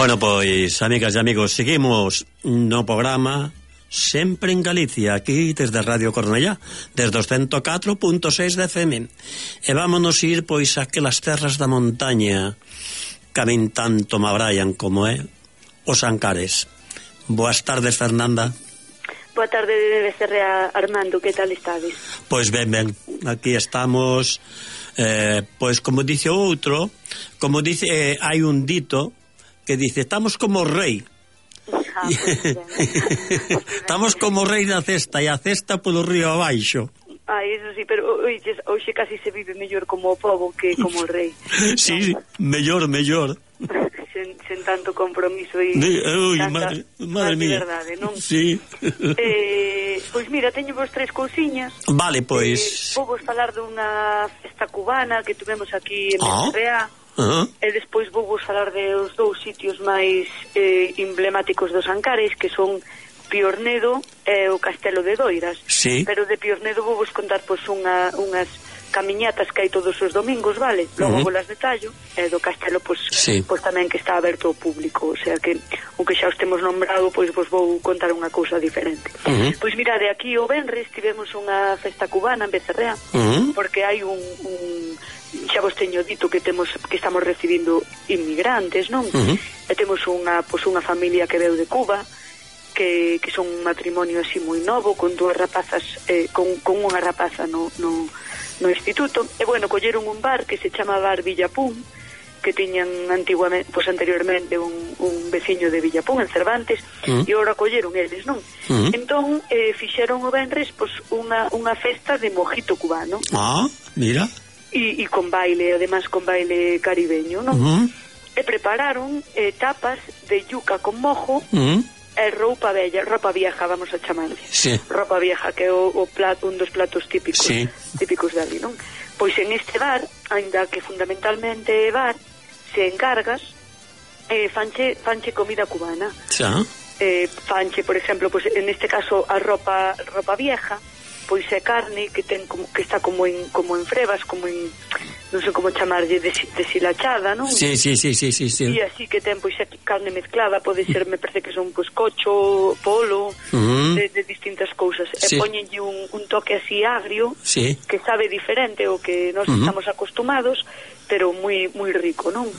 Bueno, pois, amigas e amigos, seguimos no programa Sempre en Galicia, aquí desde Radio Cornellá, desde os 104.6 de FM. E vámonos ir, pois, a aquelas terras da montaña que a min tanto me abraian como é os Ancares. Boas tardes, Fernanda. Boa tarde, Becerra Armando, que tal estades? Pois ben, aquí estamos, pois como dice outro, como dice, hai un dito que dice, estamos como rei. Estamos como rei da cesta e a cesta polo río abaixo. Eso sí, pero hoxe casi se vive mellor como o pobo que como o rei. Sí, mellor sen tanto compromiso e madre mía, verdade, non? Sí. Pois mira, teño vos tres cousiñas. Vale, pois vou vos falar dunha festa cubana que tuvemos aquí en Becerra. E despois vou vos falar dos dous sitios máis emblemáticos dos Ancares, que son Piornedo e o Castelo de Doiras. Sí. Pero de Piornedo vou vos contar pois unhas camiñatas que hai todos os domingos, vale? Logo volas detallo. E do Castelo pois tamén que está aberto ao público, o sea que o que xa os temos nombrado, pois vos vou contar unha cousa diferente. Pois mirade, aquí o venres tivemos unha festa cubana en Becerra, porque hai un xa vos teño dito que estamos recibindo inmigrantes, non? E temos unha familia que veu de Cuba, que son un matrimonio así moi novo, con dúas rapazas, con unha rapaza no instituto. E bueno, colleron un bar que se chama Bar Villapún, que tiñan anteriormente un veciño de Villapún, en Cervantes, e agora colleron eles, non? Entón, fixeron o venres unha festa de mojito cubano. Mira. E con baile, además con baile caribeño, non? E prepararon tapas de yuca con mojo e roupa vieja, vamos a chamarle. Sí. Roupa vieja, que é un dos platos típicos de ali, non? Pois en este bar, ainda que fundamentalmente é bar, se encargas, fanche comida cubana. Fanche, por exemplo, pois en este caso a roupa vieja, pois é carne que está como en frebas, como en, non sei como chamarlle, deshilachada, non? Sí. E así que ten pois carne mezclada, pode ser, me parece que son pois cocho, polo, de distintas cousas. E poñenlle un toque así agrio, que sabe diferente ao que nós estamos acostumados, pero moi rico, non?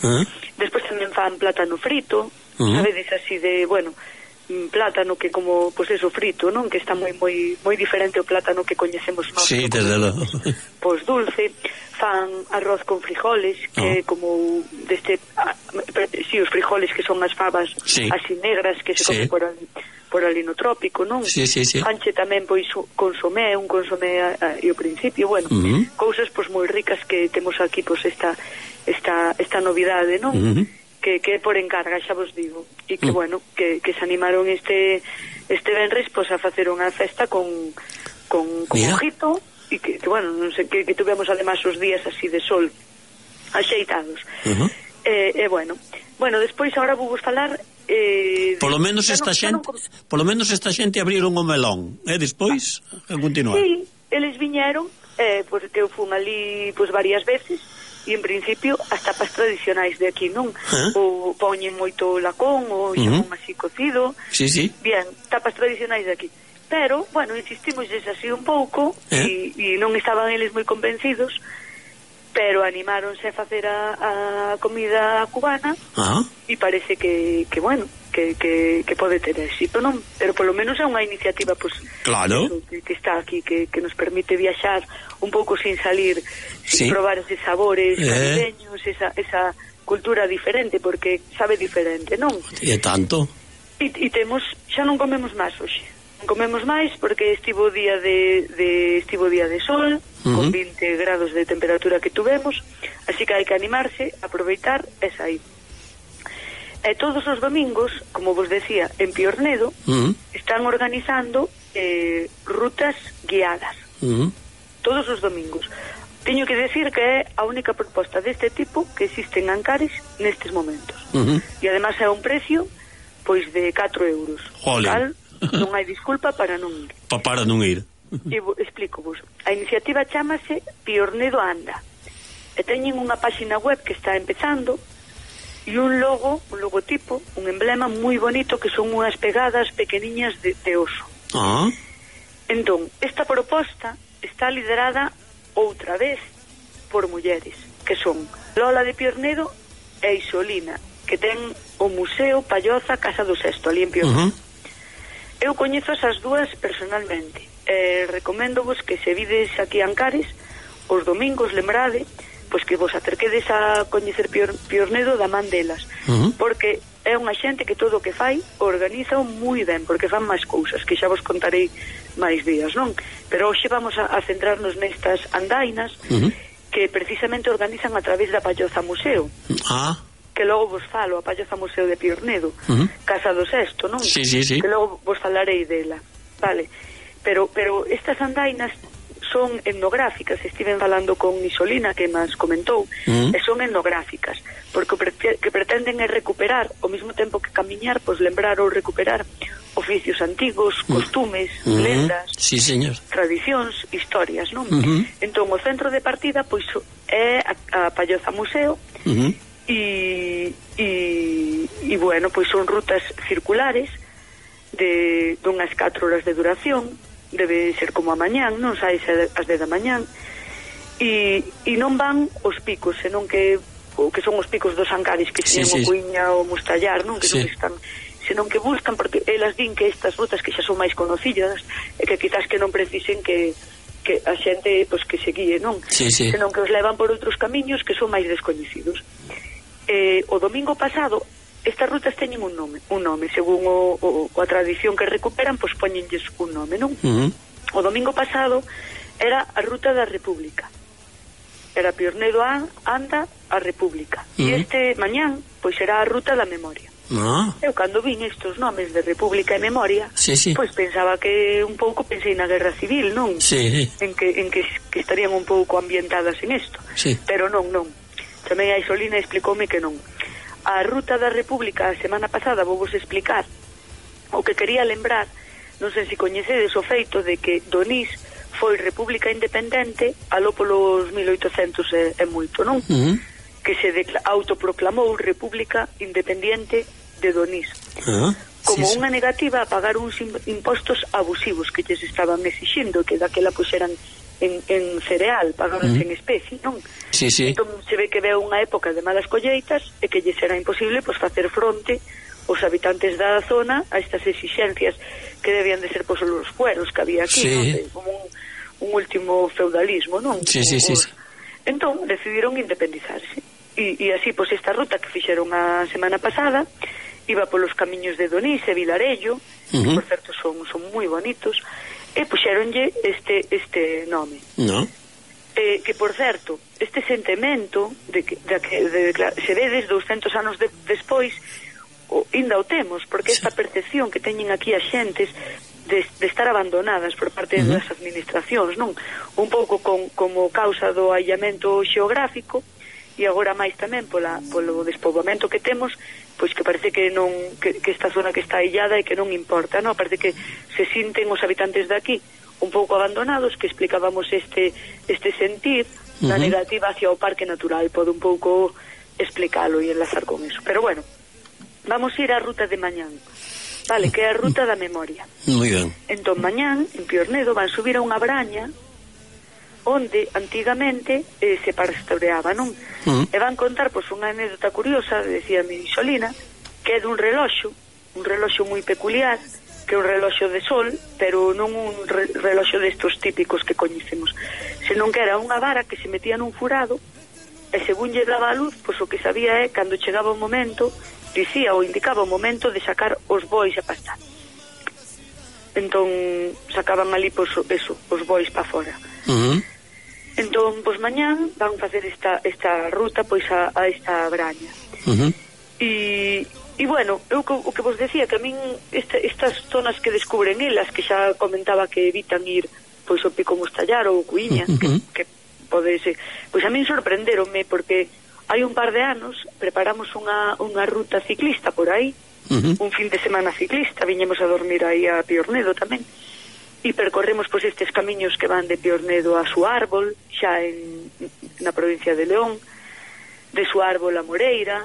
Despois tamén fan plátano frito, sabedes así de, bueno, plátano que como, pois eso, frito, non? Que está moi diferente ao plátano que coñecemos nós. Sí, desde logo. Pois dulce, fan arroz con frijoles, que como deste, os frijoles que son as fabas así negras que se comen por ali no trópico, non? Sí. Fanche tamén pois un consomé e o principio, bueno, cousas pois moi ricas que temos aquí, pois esta novidade, non? Que por encarga, xa vos digo, e que bueno, que se animaron este venres pois a facer unha festa con mojito, e que bueno, non sei, que tuvemos además os días así de sol axeitados. E bueno, despois agora vou vos falar polo menos esta xente abriron o melón, e despois a continuar. Sí, eles viñeron, porque eu fun ali pois varias veces. E en principio as tapas tradicionais de aquí, non? O poñen moito lacón, o xamón así cocido. Sí. Bien, tapas tradicionais de aquí. Pero, bueno, insistimos así un pouco e non estaban eles moi convencidos, pero animáronse a facer a comida cubana e parece que bueno, que pode ter éxito, non? Pero polo menos é unha iniciativa, pois, claro, que está aquí, que nos permite viaxar un pouco sin salir, sin probar eses sabores caribeños, esa cultura diferente, porque sabe diferente, non? E tanto. E temos, xa non comemos máis hoxe. Non comemos máis porque estivo día de sol, con 20 grados de temperatura que tuvemos, así que hai que animarse, aproveitar e sair. E todos os domingos, como vos decía, en Piornedo, están organizando rutas guiadas. Todos os domingos. Teño que decir que é a única proposta deste tipo que existe en Ancares nestes momentos. E además é un precio pois de 4 euros. Tal, non hai disculpa para non ir. Para non ir. E explico-vos. A iniciativa chámase Piornedo Anda. E teñen unha páxina web que está empezando, e un logotipo, un emblema moi bonito que son unhas pegadas pequeniñas de oso. Entón, esta proposta está liderada outra vez por mulleres, que son Lola de Piornedo e Isolina, que ten o Museo Palloza Casa do Sesto, ali en Piornedo. Eu coñezo esas dúas personalmente, recoméndovos que se vides aquí a Ancares, os domingos, lembrade, pois que vos acerquedes a coñecer Piornedo da man delas, porque é unha xente que todo o que fai organiza moi ben, porque fan máis cousas que xa vos contarei máis días, non? Pero hoxe vamos a centrarnos nestas andainas que precisamente organizan a través da Palloza Museo, que logo vos falo, a Palloza Museo de Piornedo, Casa do Sesto, non? Sí. Que logo vos falarei dela, vale? Pero estas andainas son etnográficas, estiven falando con Isolina que μας comentou, e son etnográficas, porque o que pretenden é recuperar, ao mesmo tempo que camiñar, pois lembrar ou recuperar oficios antigos, costumes, lendas, tradicións, historias, non? Entón, o centro de partida pois é a Palloza Museo, e bueno, pois son rutas circulares de unhas 4 horas de duración, debe ser como a mañán, non saes as 10 da mañán, e non van os picos, senón que son os picos dos Ancares, que señan o Cuiña ou Mustallar, non? Que non están, senón que buscan, porque elas din que estas rutas que xa son máis conocidas, e que quizás que non precisen que a xente pois que se guíe, non? Senón que os levan por outros camiños que son máis descoñecidos. O domingo pasado estas rutas teñen un nome, según a tradición que recuperan, pois poñenlles un nome, non? O domingo pasado era a Ruta da República, era Piornedo anda a República, e este mañán pois será a Ruta da Memoria. Eu cando vin estes nomes de República e Memoria, pois pensaba que un pouco pensei na Guerra Civil, non? En que estarían un pouco ambientadas en isto, pero non. Tamén a Isolina explicoume que non. A Ruta da República a semana pasada vou vos explicar o que quería lembrar, non sei se coñecedes o feito de que Donís foi república independente aló polos 1800 e moito, non? Que se autoproclamou república independiente de Donís, como unha negativa a pagar uns impostos abusivos que lles estaban exixindo, que daquela pois eran en cereal, pagábanse en especie, non? Entón se ve que veo unha época de malas colleitas e que lles era imposible pois facer fronte os habitantes da zona a estas exixencias que debían de ser pois os fueros que había aquí, non? Como un último feudalismo, non? Entón decidiron independizarse e así pois esta ruta que fixeron a semana pasada iba polos camiños de Donís e Vilarello, que por certo son moi bonitos, e puxeronlle este nome. Que, por certo, este sentimento de que se vedes 200 anos despois, ainda o temos, porque esta percepción que teñen aquí as xentes de estar abandonadas por parte das administracións, non? Un pouco como causa do aillamento xeográfico, e agora máis tamén polo despoboamento que temos, pois que parece que non que esta zona que está illada e que non importa, non? Parece que se sinten os habitantes de aquí un pouco abandonados, que explicábamos este sentir da negativa hacia o parque natural, pode un pouco explicalo e enlazar con eso. Pero bueno, vamos ir á ruta de mañán, vale, que é a Ruta da Memoria. Moi ben. Entón mañán, en Piornedo, van subir a unha braña onde antigamente se pastoreaba, non? E van contar pois unha anécdota curiosa, decía mi Isolina, que é dun reloxo moi peculiar, que é un reloxo de sol, pero non un reloxo destos típicos que coñecemos, senón que era unha vara que se metía nun furado e según lle daba a luz, pois o que sabía é cando chegaba o momento, dicía ou indicaba o momento de sacar os bois a pastar. Entón sacaban ali pois eso, os bois para fora. Entón, pois mañán van facer esta ruta pois a esta braña. E bueno, eu o que vos decía, que a min estas zonas que descubren elas, que xa comentaba que evitan ir pois ao Pico Mustallar ou Cuiña, que pode ser, pois a min sorprenderonme, porque hai un par de anos preparamos unha ruta ciclista por aí, un fin de semana ciclista, viñemos a dormir aí a Piornedo tamén, e percorremos pois estes camiños que van de Piornedo a Suárbol, xa na provincia de León, de Suárbol a Moreira,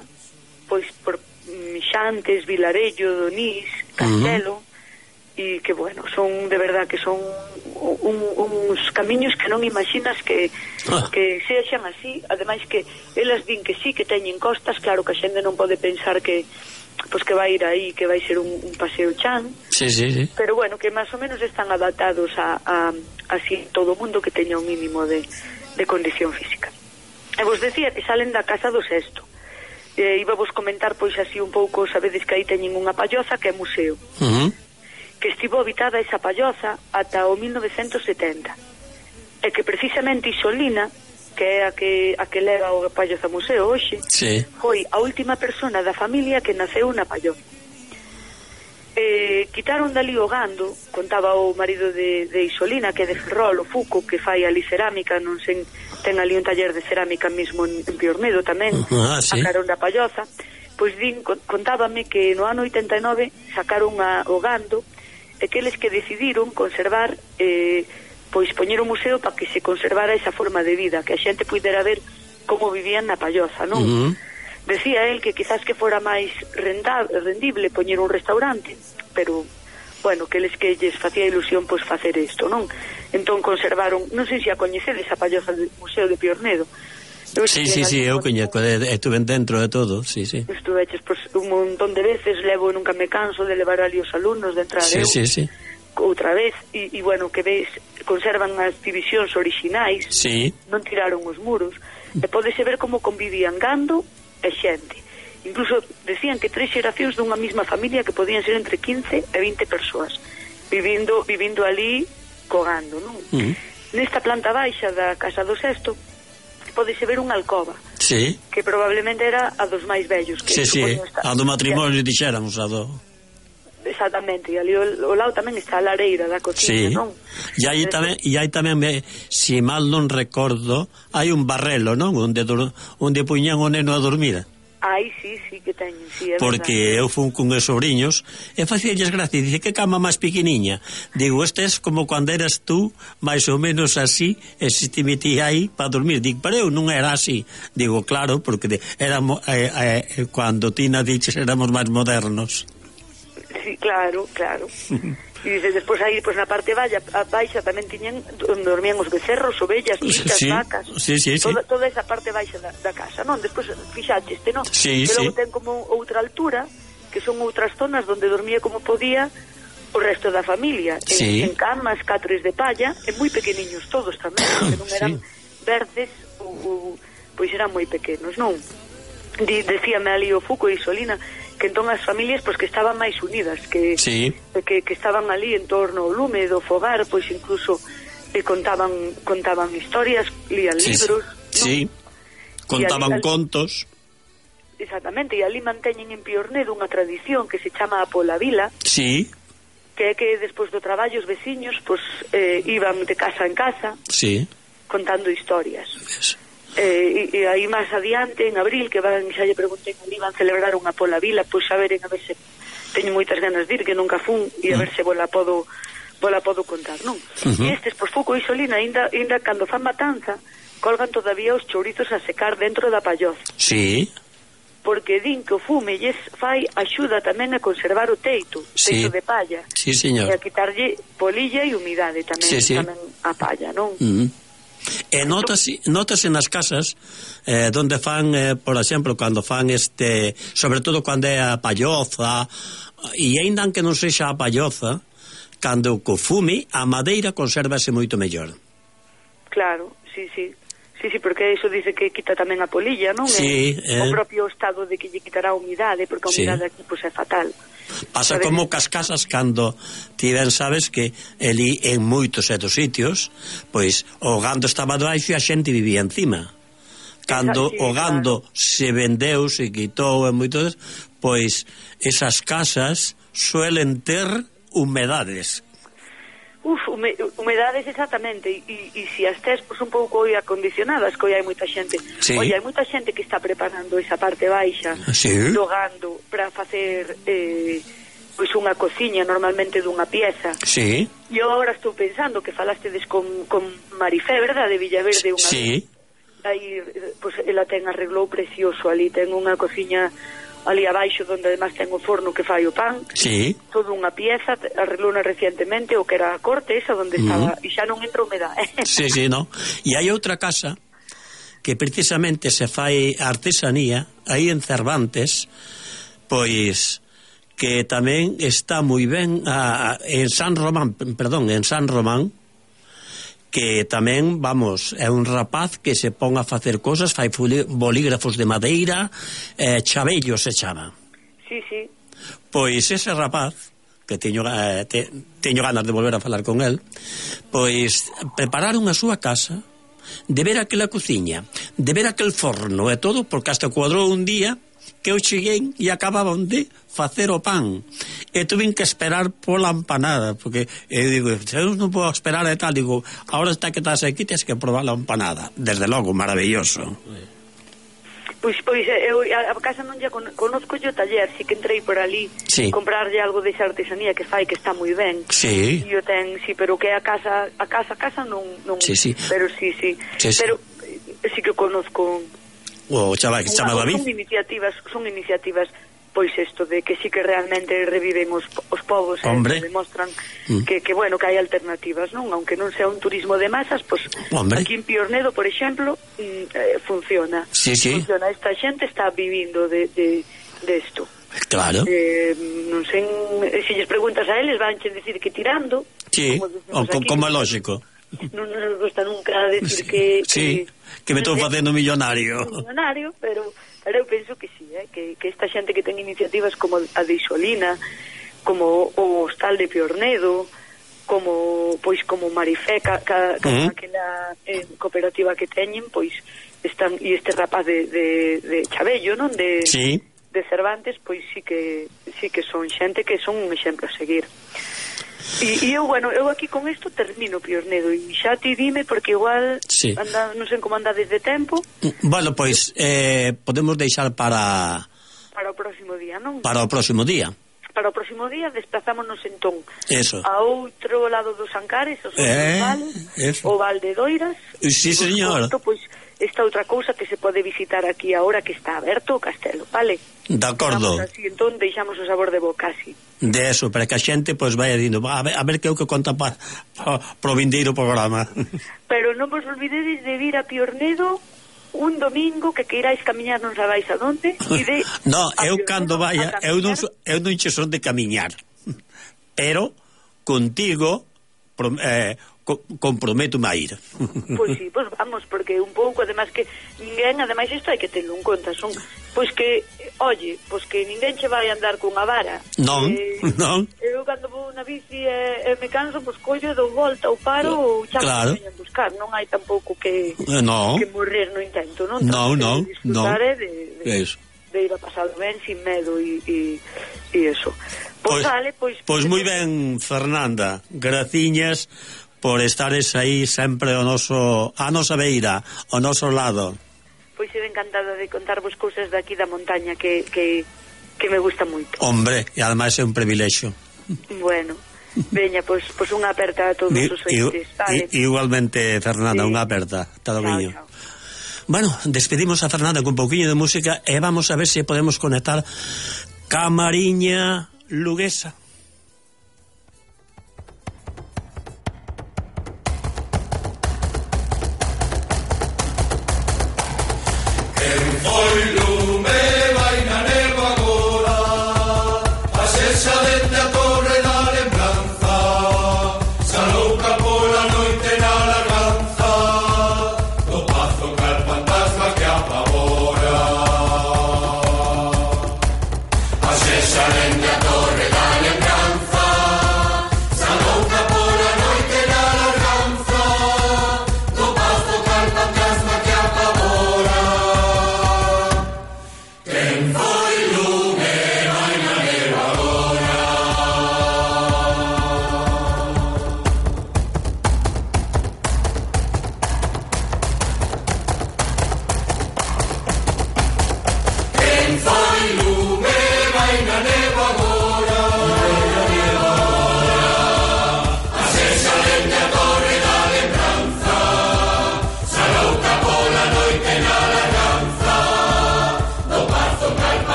pois por Mixantes, Vilarello, Donís, Castelo, e que, bueno, son, de verdad, que son uns camiños que non imaginas que sexan así. Ademais que elas din que sí, que teñen costas, claro que a xente non pode pensar que pois que vai ir aí, que vai ser un paseo chan, pero bueno, que máis ou menos están adaptados a así todo o mundo que teña un mínimo de condición física. E vos decía que salen da Casa do Sesto. Iba vos comentar pois así un pouco, sabedes que aí teñen unha palloza que é museo, que estivo habitada esa palloza ata o 1970, e que precisamente Isolina, que é a que leva o palloza museo hoxe, foi a última persona da familia que naceu na palloza. Quitaron dali o gando, contaba o marido de Isolina, que é de Ferrol, o Fuco, que fai ali cerámica, non sei, ten ali un taller de cerámica mismo en Piornedo tamén, sacaron da palloza. Pois contábame que no ano 89 sacaron o gando, e que eles que decidiron conservar, pois poñer o museo para que se conservara esa forma de vida, que a xente pudera ver como vivían na palloza, non? Decía él que quizás que fora máis rendible poñer un restaurante, pero, bueno, que eles que lles facía ilusión pois facer isto, non? Entón conservaron, non sei se a coñecedes, a palloza do Museo de Piornedo. Sí, eu coñeco, estuve dentro de todo, sí. Estuveches pois un montón de veces, levo, nunca me canso de levar ali os alumnos, de entrar outra vez, e bueno, que ves, conservan as divisións orixinais, non tiraron os muros, e podese ver como convivían gando e xente. Incluso decían que 3 xeracións dunha mesma familia que podían ser entre 15 e 20 persoas vivindo ali cogando, non? Nesta planta baixa da Casa do Sesto podese ver unha alcoba, que probablemente era a dos máis vellos, que a do matrimonio, dixéramos, a do... Exactamente, e ali ao lado tamén está a lareira da cocina, non? E aí tamén, se mal non recordo, hai un barrelo, non? Onde puñan o neno a dormir. Ai, sí, que teñen, sí, é porque verdad. Eu fui con os sobrinhos e facíalles gracia, dice, que cama máis pequeniña. Digo, este es como cando eras tú, máis ou menos así, e se te metía aí para dormir. Digo, pero eu non era así. Digo, claro, porque éramos, cando ti nadiches éramos máis modernos. Sí, claro. E dice, despois aí, pois na parte baixa tamén tiñan onde dormían os becerros, ovellas, vitas, vacas. Toda esa parte baixa da casa, non? Despois fixaxeste, non? E logo ten como outra altura, que son outras zonas onde dormía como podía o resto da familia, en camas, catres de palla, e moi pequeniños todos tamén, que non eran verdes, pois eran moi pequenos, non? Decíame ali o Fuco e Isolina que entón as familias pois que estaban máis unidas, que estaban ali en torno ao lume do fogar, pois incluso contaban historias, lían libros, contaban contos. Exactamente, e ali manteñen en Piornedo unha tradición que se chama a Pola Vila, que é que despois do traballo os veciños pois iban de casa en casa contando historias. E aí máis adiante, en abril, que xa lle preguntei ali, van celebrar unha Pola Vila, pois a ver se teño moitas ganas de ir, que nunca fun, e a ver se vola podo contar, non? E estes, pois Fuco e Isolina, ainda cando fan matanza, colgan todavía os chourizos a secar dentro da palloza. Porque din que o fume lles fai axuda tamén a conservar o teito de palla, e a quitarlle polilla e humidade tamén a palla, non? E notase nas casas donde fan, por exemplo, cando fan sobre todo cando é a palloza, e ainda que non sexa a palloza, cando co fume a madeira consérvase moito mellor. Claro, sí, porque iso dice que quita tamén a polilla, non? O propio estado de que lle quitará a humidade, porque a humidade aquí pois é fatal. Pasa como cas casas cando ti ben sabes que ali en moitos sitios pois o gando estaba debaixo e a xente vivía encima. Cando o gando se vendeu, se quitou e moitos, pois esas casas suelen ter humedades. Humedades exactamente, e se as tes pois un pouco acondicionadas, que hai moita xente hai moita xente que está preparando esa parte baixa do gando para facer pois unha cociña normalmente dunha pieza. E eu agora estou pensando que falastedes con Marifé, verdade, de Villaverde, aí, pois ela ten arreglou precioso ali, ten unha cociña ali abaixo donde además ten o forno que fai o pan, toda unha pieza, arreglona recientemente o que era a corte esa donde estaba, e xa non entra humedade. Sí, no. E hai outra casa que precisamente se fai artesanía aí en Cervantes, pois que tamén está moi ben en San Román, que tamén, vamos, é un rapaz que se pon a facer cosas, fai bolígrafos de madeira, Chabello se chama. Sí. Pois ese rapaz, que teño ganas de volver a falar con el, pois prepararon a súa casa, de ver aquela cociña, de ver aquel forno e todo, porque hasta cuadrou un día que eu cheguei e acababan de facer o pan e tuve que esperar pola empanada, porque eu digo, eu non podo esperar e tal, digo, ahora está que estás aquí, tens que probar a empanada, desde logo, maravilloso. Pois eu a casa non lle conozco yo taller, si que entrei por ali comprarlle algo de esa artesanía que fai, que está moi ben. Sí. E eu pero que a casa non. Sí. Pero sí. Pero sí que conozco. O chaval que se chama David. Son iniciativas pois isto de que sí que realmente reviven os povos e demostran que bueno, que hai alternativas, non? Aunque non sea un turismo de masas, pois aquí en Piornedo, por exemplo, funciona. Sí. Funciona, esta xente está vivindo de isto. Claro. Non sei, se lles preguntas a eles vanche decir que tirando. Sí, como é lógico. Non nos gusta nunca decir que me estou facendo millonario, pero eu penso que sí, que esta xente que ten iniciativas como a de Isolina, como o Hostal de Piornedo, como Marifé, aquela cooperativa que teñen, pois están, e este rapaz de Chabello, non? De Cervantes, pois sí que son xente que son un exemplo a seguir. E eu aquí con isto termino Piornedo, e xa ti dime, porque igual non sei como anda desde tempo. Bueno, pois podemos deixar para o próximo día, non? Para o próximo día desplazámonos entón a outro lado dos Ancares, os vales, o Val de Doiras. Sí, señor. Pois esta outra cousa que se pode visitar aquí agora que está aberto o castelo, vale? De acordo. Así, entón deixamos o sabor de boca así. De eso, para que a xente pois vaya dindo, a ver que é o que conta pro vindeiro programa. Pero non vos olvidedes de vir a Piornedo un domingo que queiráis camiñar, non sabáis a donde. No, eu cando vaya, eu non che son de camiñar, pero contigo comprometo-me a ir. Pois sí, pois vamos, porque un pouco, además que ninguén, ademais isto hai que terlo en conta, son, pois que, oye, pois que ninguén che vai andar cunha vara. Non. Eu cando vou na bici e me canso, pois collo, dou volta ou paro ou chamo que veñan buscar, non hai tampouco que morrer no intento, non? Non. Disfrutar de ir a pasar ben sin medo e eso. Pois moi ben, Fernanda, graciñas por estares aí sempre a nosa beira, ao noso lado. Pois eu encantada de contarvos cousas daqui da montaña que me gusta moito. Hombre, e ademais é un privilexio. Bueno, veña, pois unha aperta a todos os ointes, vale? Igualmente, Fernanda, unha aperta. Todo viño. Bueno, despedimos a Fernanda con un pouquiño de música e vamos a ver se podemos conectar ca Mariña Luguesa.